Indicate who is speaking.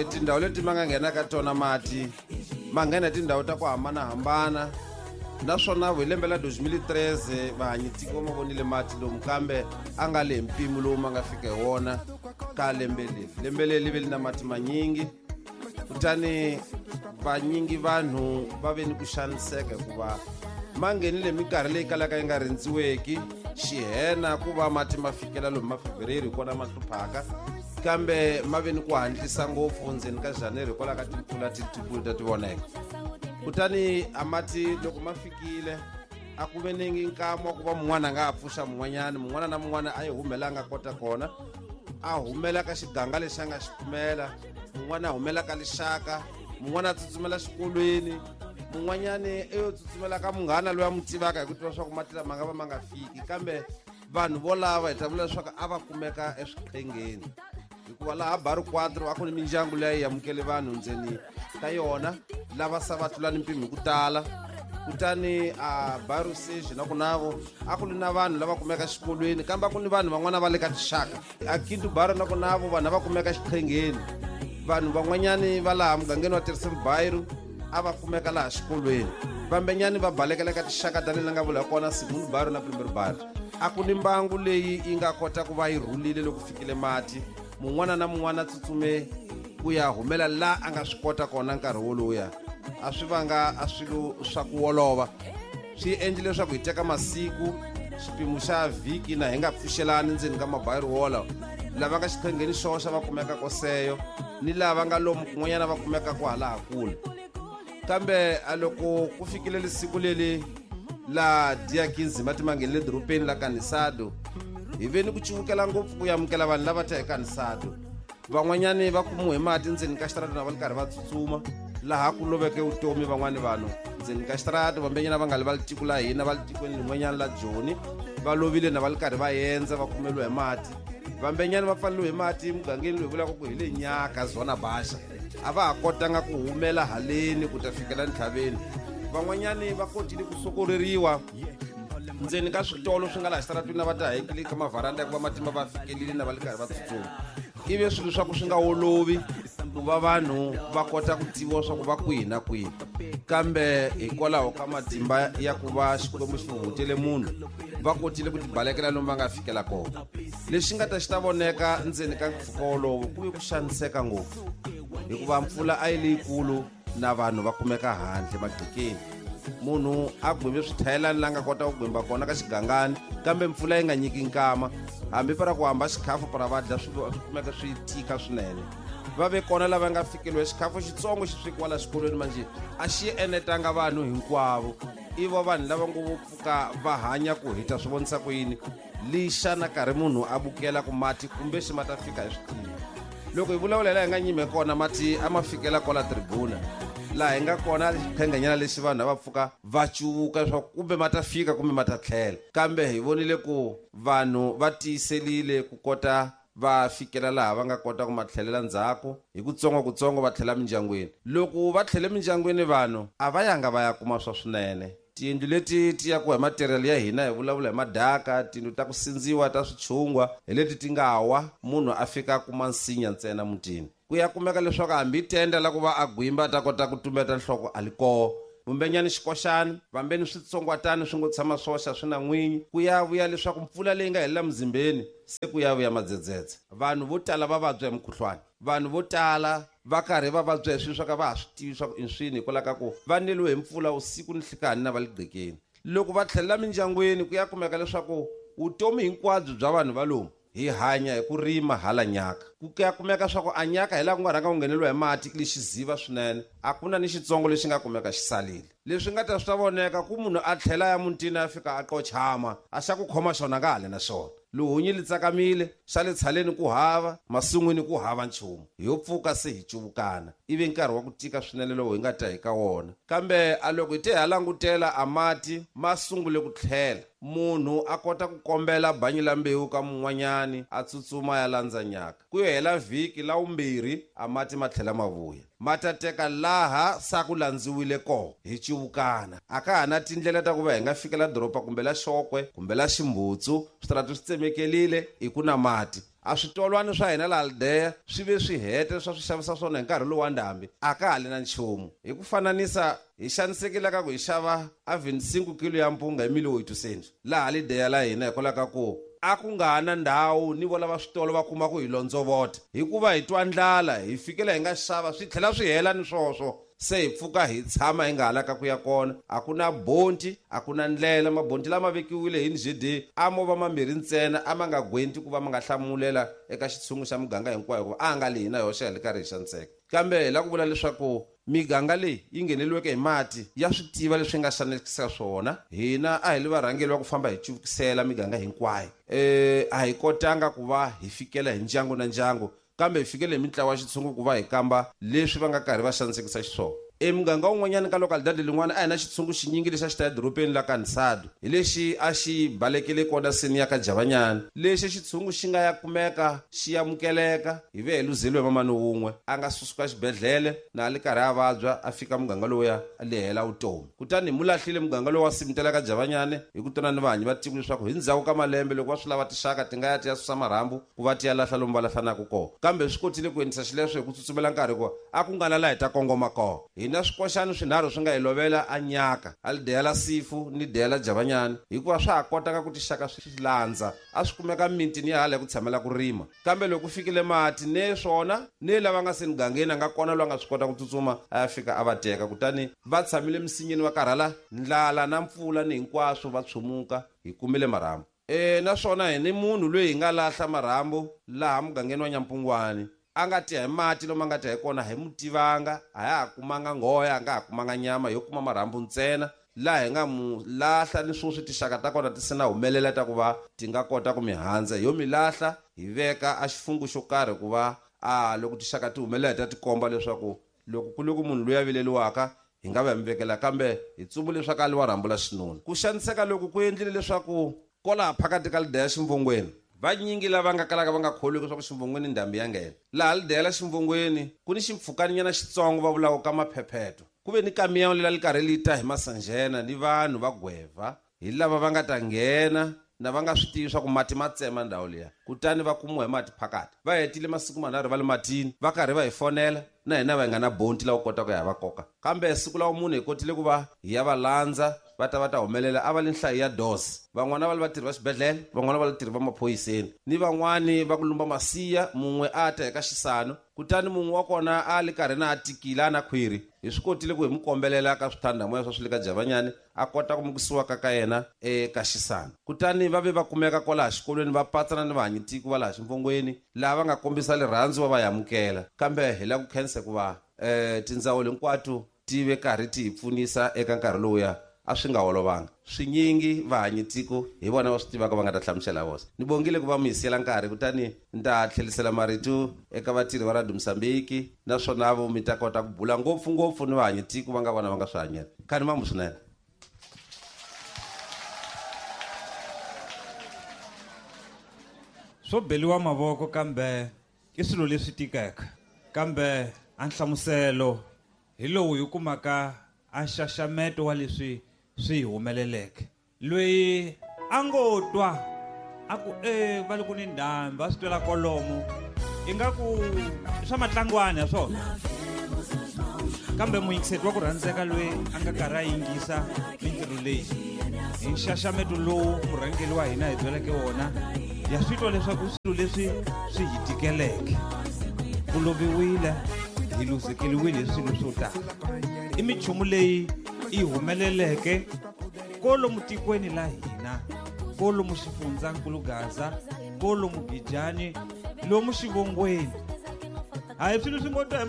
Speaker 1: Tindhawu leti ma nga nghena ka tona mati ma nghena tindhawu ta ku hambanahambana, naswona hi lembe la 2013 vahanyi tiko ma vonile mati lomu, kambe a nga le hi mpimo lowu ma nga fika hi wona ka lembe leri. Lembe leri li ve li na mati manyingi, kutani vanyingi vanhu va ve ni ku xaniseka hikuva ma nghenile minkarhi leyi kalaka yi nga rindziweki. Xihena ku va mati ma fikela lomu ma fevereru hi kona ma hluphaka, kambe ma ve ni ku hatlisa ngopfu ndzeni ka janeru hikwalaho ka timpfula tikulu ta ti voneka. Kutani a mati loko ma fikile a ku ve ni nkama wa ku va mun'wana a nga ha pfuxa mun'wanyana, mun'wana na mun'wana a yi humela a nga kota kona, a humela ka xiganga lexi a nga xi kumela, mun'wana a humela ka lixaka, mun'wana a tsutsumela xikolweni, mun'wanyani i yo tsutsumela ka munghana loyi a n'wi tivaka hi ku tiva swa ku mati lama nga va ma nga fiki. Kambe vanhu volava hi ta vula leswaku a va kumeka eswiqhengeni, hikuva laha Baru Quatro a ku ni mindyangu leyi yi amukele vanhu ndzeni ka yona lava sa va tlula ni mpimo hi ku tala. Kutani a Baru Seji na ku navo a ku ri na vanhu lava kumeka xikolweni, kambe a ku ni vanhu van'wana va le ka tixaka. A Kintu Baru na ku navo vanhu a va kumeka xiqhengeni, vanhu van'wanyani va laha mugangeni wa Terceiro Bairro a va kumeka laha xikolweni, vambenyani va balekela ka tixaka ta le nga vula kona Segundo Bairro na Primeiro Bairro. A ku ni mbangu leyi yi nga kota ku va yi rhulile loko fikile mati, mun'wana na mun'wana a tsutsume ku ya humela la a nga swi kota kona. Nkarhi woluya a swi vanga a swilo swa ku wolova, swi endle leswaku hi teka masiku xipimo xa vhiki na hi nga pfuxelani ndzeni ka mabayiro wolawo. Lava nga xiqhengeni xoxa va kumeka koseyo, ni lava nga lomu kun'wanyana va kumeka ku halaha kule. Kambe a loko ku fikile lisiku leli la dia 15 mati ma nghenile dorobeni la Kanisado, hi ve ni ku civukela ngopfu ku amukela vanhu lava ta hi Kanisado. Van'wanyani va kumiwe hi mati ndzeni ka xitarata na va li karhi va tsutsuma, laha ku loveke vutomi van'wani vanhu ndzeni ka xitarata. Vambenyana va nga li va li tiko la hina, va li tikweni lin'wanyana la Joni, va lovile na va li karhi va endza, va kumeliwa hi mati. Vambenyani va pfaleliwe hi mati mugangeni loyi vulaka ku hi le Nyaka Zona Baxa, a va ha kotanga ku humela haleni ku ta fikela ntlhaveni. Van'wanyani va kotile ku sokoreriwa ndzeni ka switolo swi nga laha xitaratwini na va ta hekile ka mavharanda ya ku va matimba va fikelile na va li karhi va tsutsuma. Ivi swilo swa ku swi nga wolovi ku va vanhu va kota ku tiviwa swa ku va kwihi na kwihi, kambe hikwalaho ka matimba ya ku va Xikwembu xi huhutele munhu, va kotile ku tibalekela lomu va nga fikela kona. Lexi nga ta xi ta voneka ndzeni ka mpfhuka wolowo ku ve ku xaniseka ngopfu, hikuva mpfula a yi leyikulu na vanhu va kumeka handle magqekeni. Munhu a gwimbe swithayelani la nga kota ku gwimba kona ka xigangani, kambe mpfula yi nga nyiki nkama, hambi para ku hamba xikhafu para va dya swi kumeka swi tika swinene. Va ve kona lava nga fikeliwa xikhafu xitsongo xi swekiwa la xikolweni, manje a xi enetanga vanhu hinkwavo. I va vanhu lava ngo vo pfuka va hanya ku hi ta swi vonisa ku yini lixa na karhi munhu a bukela ku mati kumbe xi ma ta fika hi swi tivi. Loko hi vulavula hi laha hi nga nyime kona, mati a ma fikela kwala tribuna laha hi nga kona, xiqhengenyana lexi vanhu a va pfuka va cuvuka leswaku kumbe ma ta fika kumbe ma ta tlhela. Kambe hi vonile ku vanhu va tiyiselile ku kota va fikela laha va nga kota ku ma tlhelela ndzhaku hi kutsongo kutsongo, va tlhela mindyangwini. Loko va tlhele mindyangwini, vanhu a va yanga va ya kuma swa swinene. Tiyindlu leti ti yakiwa hi material ya hina, hi vulavula hi madaka, tiyindlu ta ku sindziwa ta swichungwa hi leti ti nga wa, munhu a fika a kuma nsinya ntsena mutini. Ku ya kumeka leswaku hambi tenda la ku va a gwimba a ta kota ku tumbeta nhloko a li koho. Vumbenyani xikoxani, vambeni switsongwatani swi ngo tshama swoxa swi na n'winyi. Ku ya vuya leswaku mpfula leyi nga helela muzimbeni se ku ya vuya madzedzedze. Vanhu vo tala va vabya hi mukhuhlwani. Vanhu vo tala va karhi va vabya hi swilo swa ka va ha swi tivi swa ku i swini, hikwalaho ka ku va neliwe hi mpfula usiku ni nhlikani na va le gqekeni. Loko va tlhelela mindyangwini, ku ya kumeka leswaku vutomi hinkwabyo bya vanhu va lomu hi hanya hi ku rima hala Nyaka. Ku ya kumeka swa ku a Nyaka hi laha ku nga rhanga ku ngheneliwa hi mati li xiziva swinene, a ku na ni xitsongo lexi nga kumeka xi salile. Leswi nga ta swi ta voneka ku munhu a tlhela ya mutini a fika a qochama, a xa ku khoma xona nga hale na xona. Luhunyi li tsakamile, xa le tshaleni ku hava, masin'wini ku hava nchumu. Hi yo pfuka se hi cuvukana. Ivi nkarhi wa ku tika swinene lowu hi nga ta hi ka wona. Kambe a loko hi te ha langutela, a mati ma sungule ku tlhela. Munhu a kota ku kombela banyi la mbewu ka mun'wanyani, a tsutsuma ya landza Nyaka. Ku yo hela vhiki la wumbirhi, a mati ma tlhela ma vuya. Ma ta teka laha sa ku landziwile koho, hi cuvukana. A ka ha na tindlela ta ku va hi nga fikela doroba kumbe la Xokwe kumbe la Ximbutsu, switarati swi tsemekelile, i ku na mati. A switolwana swa hina laha Lideya swi ve swi hete swa swi xavisa swona hi nkarhi lowu wa ndhambi, a ka ha li na nchumu. Hi ku fananisa, hi xanisekile ka ku hi xava a 25 kilo ya mpunga hi 1.800 laha Lideya la hina, hikwalaho ka ku a ku nga ha na ndhawu ni vo lava switolo va kuma ku hi londzovota, hikuva hi twa ndlala hi fikela hi nga xava swi tlhela swi hela ni swoswo. Se hi pfuka hi tshama hi nga ha laka ku ya kona, a ku na bonti, a ku na ndlela. Mabonti lama vekiwile hi NGD a mo va mambirhi ntsena, a ma nga gwenti ku va ma nga hlamulela eka xitshungu xa muganga hinkwayo, hikuva a nga li hina hoxa hi le karhi hi xaniseka. Kambe hi lava ku vula leswaku miganga leyi yi ngheneliweke hi mati ya swi tiva leswi nga xanekisa swona. Hina a hi li varhangeri va ku famba hi cuvukisela miganga hinkwayo, a hi kotanga ku va hi fikela hi ndyangu na ndyangu, kambe hi fikele hi mintlawa ya xitshungu ku va hi kamba leswi va nga karhi va xanisekisa xiswona. Emuganga wun'wanyana ka lokalidadi lin'wana a hi na xitshungu xinyingi lexi a xi ta edorobeni la Kanisado, hi lexi a xi balekele kona seni ya ka Javanyana. Lexi xitshungu xi nga ya kumeka xi amukeleka, hi ve hi luzeliwe mamani wun'we a nga susuka xibedhlele na a li karhi a vabya, a fika muganga lowuya a lehela vutomi. Kutani hi mu lahlile muganga lowu wa Simutela ka Javanyane hi ku twana ni vahanyi va tiko leswaku hi ndzhaku ka malembe loko va swi lava tixaka ti nga ya ti ya susa marhambu ku va ti ya lahla lomu va lahlanaka kona. Kambe swi kotile ku endlisa xileswo hi ku tsutsumela nkarhi, hikuva a ku nga na laha hi ta kongoma kona. Hina swikoxani swinharhu swi nga hi lovela a nyaka, a li deya la Sifu ni deya la Javanyane, hikuva swa ha kotaka ku tixaka swi landza. A swi kumeka mitini ya hala hi ku tshamela ku rima, kambe loko ku fikile mati ne swona ne lava nga se mugangeni a nga kona loyi a nga swi kota ku tsutsuma a ya fika a va teka. Kutani va tshamile misinyeni va karhala ndlala na mpfula ni hinkwaswo, va tshumuka, hi kumile marhambu. Naswona hi ni munhu loyi hi nga lahla marhambu laha mugangeni wa Nyampungwani, a nga tiya hi mati lomu a nga tiya hi kona, hi mu tivanga, a ya ha kumanga nghoya, a nga ha kumanga nyama, yo kuma marhambu ntsena. Laha hi nga mu lahla ni swoswi tixaka ta kona ti se na humelela ta ku va ti nga kota ku mi handza, yo mi lahla hi veka a xifungu xo karhi ku va a loko tixaka ti humelela hi ta tikomba leswaku loko ku le ku munhu loyi a vileliwaka hi nga va hi mi vekela, kambe hi tsumbu leswaku a li wa rhambu la xinuna. Ku xaniseka loku ku endlile leswaku kwalaha phakati ka Lideya ximvongweni vanyingi lava nga kalaka va nga kholwiki leswaku ximvongweni ndhambi ya nghena. Laha Lideya la ximvongweni ku ni ximpfhukanyana xitsongo va vulaka ka maphepheto, ku ve ni kamiyawu lela li karhi li ta hi masanjena ni vanhu va gweva, hi lava va nga ta nghena na va nga swi tivi swa ku mati ma tsema ndhawu liya, kutani va kumiwa hi mati phakati. Va hetile masiku manharhu va le matini, va karhi va hi fonela, na hina va hi nga na bonti la ku kota ku ya va koka. Kambe siku la munhu hi kotile ku va hi ya va landza, va ta va ta humelela, a va li nhlayo ya dose. Van'wana va li vatirhi va xibedhlele, van'wana va li vatirhi va maphoyiseni, ni van'wani va ku lumba masiya. Mun'we a ta hi ka xisano, kutani mun'we wa kona a li karhi na a tikile a na khwiri. Hi swi kotile ku hi mu kombelela ka swithandamoya swa swi le ka Javanyane, a kota ku mukisiwa ka yena eka xisano. Kutani va ve va kumeka kwalaha xikolweni, va patsana ni vahanyitiko va laha ximvongweni, laha va nga kombisa rirhandzu va va amukela. Kambe hi lava ku khensa hikuva tindzawulo hinkwato ti ve karhi ti hi pfunisa eka nkarhi lowuya, a swi nga olovanga. Swinyingi vahanyitiko hi vona va swi tivaka, va nga ta hlamusela voxe. Ni bongile ku va mi hi siyela nkarhi, kutani ni ta tlhelisela marito eka vatirhi va Radio Mozambique, naswona vo mi ta kota ku bula ngopfungopfu ni vahanyitiko va nga vona va nga swi hanyela. Khani mambu swinene.
Speaker 2: Swo beliwa mavoko kambe i swilo leswi tikaka, kambe a nhlamuselo hi lowu hi kumaka a nxaxameto wa leswi swi hi humeleleke. Loyi a ngo twa a ku va le ku ni ndhambi, a swi twela kolomo ingaku i swa matlangwana ya swona, kambe muyingiseti wa ku rhandzeka loyi a nga karhi a yingisa mintirho leyi hi nxaxameto lowu murhangeri wa hina hi byeleke wona, ya swi twa leswaku swilo leswi swi hi tikeleke, ku loviwile, hi luzekeriwile hi swilo swo tala. I minchumu leyi yi humeleleke kolomu tikweni la hina, kolomu xifundzankulu Gaza, kolomu Gijani, lomu xivongweni. Hayi swilo swi ngo twa hi